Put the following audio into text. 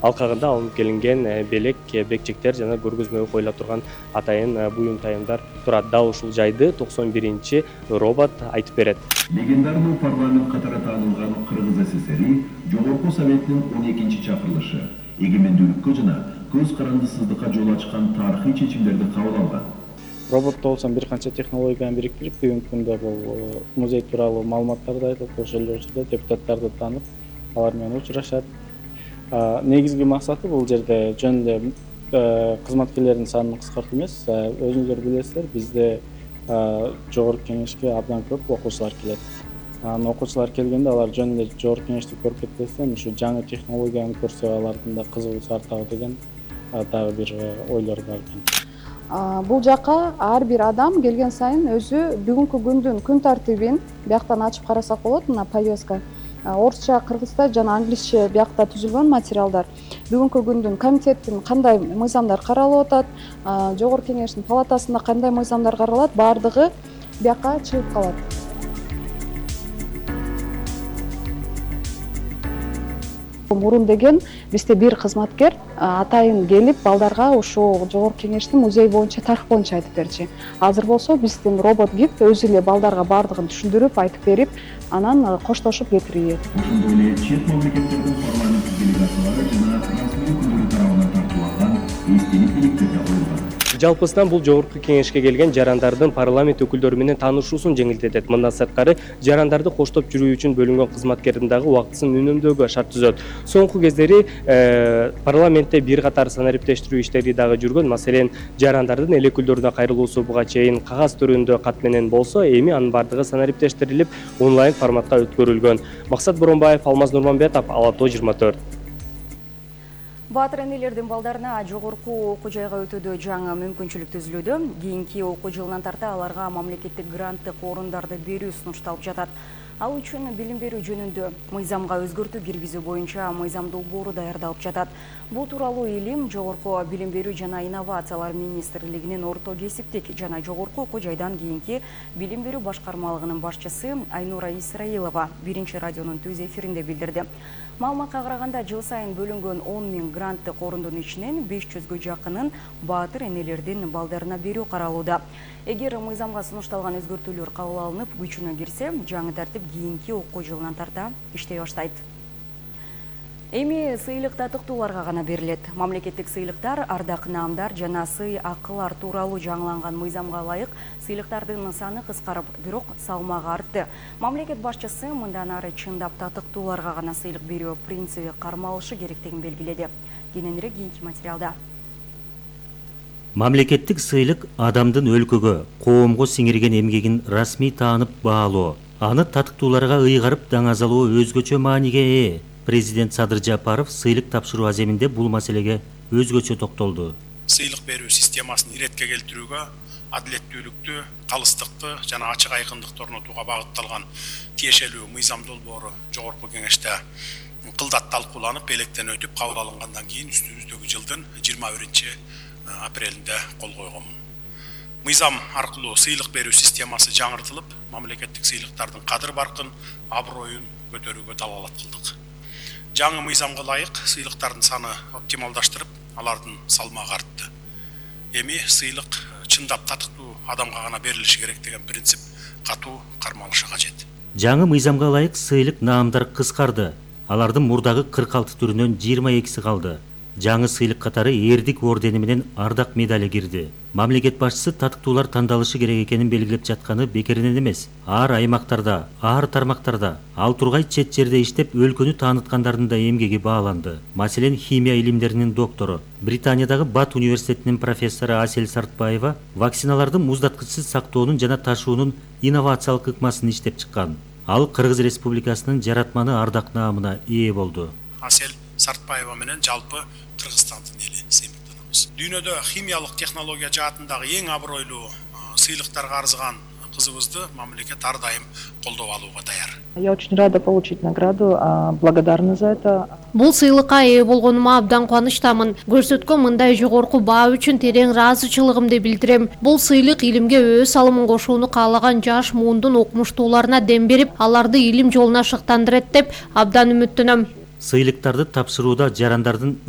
алкагында алынып келинген белек, бекчектер жана көргөзмөгө коюла турган атайын буюм таямдар турат. Дал ушул жайды 91-чи робот айтып берет. Легендарный парламент катары таанылган Кыргыз СССР Жогорку Советинин 12-чи чакырылышы эгемендүүлүккө жана көз карандысыздыкка жол ачкан тарыхый чечимдерди кабыл алган. Роботто болсо бир канча технологияны бириктирип, бүгүнкү күндө бул музей тууралуу маалыматтарды айтып, ошол жерде депутаттарды таанып, алар менен учурашат. Негизги максаты бул жерде жөн эле кызматкерлердин санын кыскартуу эмес. Өзүңүздөр билесиздер, бизде жогорку кеңешке абдан көп окуучулар келет. Окуучулар келгенде алар жөн эле жогорку кеңешти көрүп кетпестен, ушу жаңы технологияны көрсө алардын да кызыгуусу артабы деген дагы бир ойлор бар экен. Бул жака ар бир адам келген сайын өзү бүгүнкү күндүн күн тартибин бияктан ачып карасак болот. Мына повестка орусча, кыргызча жана англисче биякта түзүлгөн материалдар. Бүгүнкү күндүн комитеттин кандай мыйзамдар каралып атат, жогорку кеңештин палатасында кандай мыйзамдар каралат, баардыгы бияка чыгып калат. Мурун деген бизде бир кызматкер атайын келип балдарга ушул жогорку кеңештин музей боюнча, тарых боюнча айтып берчү. Азыр болсо биздин робот гид өзү эле балдарга баардыгын түшүндүрүп, айтып берип, анан коштошуп кетирет. Ошондой эле чет мамлекеттердин парламент делегациялары жана расмий өкүлдөрү тарабынан тартууланган эстелик белектер да коюлган. Жалпысынан бул жогорку кеңешке келген жарандардын парламент өкүлдөрү менен таанышуусун жеңилдетет. Мындан сырткары жарандарды коштоп жүрүү үчүн бөлүнгөн кызматкердин дагы убактысын үнөмдөөгө шарт түзөт. Соңку кездери парламентте бир катар санариптештирүү иштери дагы жүргөн. Маселен, жарандардын эл өкүлдөрүнө кайрылуусу буга чейин кагаз түрүндө кат менен болсо, эми анын бардыгы санариптештирилип, онлайн форматта өткөрүлгөн. Максат Боронбаев, Алмаз Нурманбетов, Ала Тоо 24. Баатыр энелердин балдарына жогорку окуу жайга өтүүдө жаңы мүмкүнчүлүк түзүлүүдө. Кийинки окуу жылынан тарта аларга мамлекеттик гранттык орундарды берүү сунушталып жатат. Ал үчүн билим берүү жөнүндө мыйзамга өзгөртүү киргизүү боюнча мыйзамдуу бору даярдалып жатат. Бул тууралуу илим Жогорку билим берүү жана инновациялар министрлигинин орто кесиптик жана жогорку окуу жайдан кийинки билим берүү башкармалыгынын башчысы Айнура Исраилова биринчи радионун түз эфиринде билдирди. Маалыматка караганда, жыл сайын бөлүнгөн 10 000 гранттык орундун ичинен 500гө жакынын баатыр энелердин балдарына берүү каралууда. Эгер мыйзамга сунушталган өзгөртүүлөр кабыл алынып, күчүнө кирсе, жаңы тартип кийинки окуу жылынан тарта иштей баштайт. Эми сыйлык татыктууларга гана берилет. Мамлекеттик сыйлыктар, ардак наамдар жана сый акылар тууралуу жаңыланган мыйзамга ылайык сыйлыктардын саны кыскарып, бирок салмагы артты. Мамлекет башчысы мындан ары чындап татыктууларга гана сыйлык берүү принциби кармалышы керектигин белгиледи. Кененирээк кийинки материалда. Мамлекеттик сыйлык адамдын өлкөгө, коомго сиңирген эмгегин расмий таанып баалоо, аны татыктууларга ыйгарып даңазалоо өзгөчө мааниге ээ. Президент Садыр Жапаров сыйлык тапшыруу аземинде бул маселеге өзгөчө токтолду. Сыйлык берүү системасын иретке келтирүүгө, адилеттүүлүктү, калыстыкты жана ачык айкындыкты орнотууга багытталган тиешелүү мыйзам долбоору жогорку кеңеште кылдат талкууланып, электен өтүп кабыл алынгандан кийин үстүбүздөгү жылдын 21 апрелинде кол койгонмун. Мыйзам аркылуу сыйлык берүү системасы жаңыртылып, мамлекеттик сыйлыктардын кадыр баркын, аброюн көтөрүүгө далалат кылдык. Жаңы мыйзамга ылайык сыйлыктардын саны оптималдаштырып, алардын салмагы артты. Эми сыйлык чындап татыктуу адамга гана берилиши керек деген принцип катуу кармалышы кажет. Жаңы мыйзамга ылайык сыйлык наамдар кыскарды. Алардын мурдагы 46 түрүнөн 22си калды. Жаңы сыйлык катары эрдик ордени менен ардак медали кирди. Мамлекет башчысы татыктуулар тандалышы керек экенин белгилеп жатканы бекеринен эмес. Ар аймактарда, ар тармактарда, ал тургай чет жерде иштеп өлкөнү тааныткандардын да эмгеги бааланды. Маселен, химия илимдеринин доктору, Британиядагы Бат университетинин профессору Асель Сартбаева вакциналардын муздаткычсыз сактоонун жана ташуунун инновациялык ыкмасын иштеп чыккан. Ал Кыргыз Республикасынын жаратманы ардак наамына ээ болду. Асель Сартбаева менен жалпы Кыргызстандын эли сыймыктанабыз. Дүйнөдө химиялык технология жаатындагы эң абройлуу сыйлыктарга арзыган кызыбызды мамлекет ар дайым колдоп алууга даяр. Я очень рада получить награду, благодарна за это. Бул сыйлыкка ээ болгонума абдан кубанычтамын. Көрсөткөн мындай жогорку баа үчүн терең ыраазычылыгымды билдирем. Бул сыйлык илимге өз салымын кошууну каалаган жаш муундун окумуштууларына дем берип, аларды илим жолуна шыктандырат деп абдан үмүттөнөм. Сыйлыктарды тапшырууда жарандардын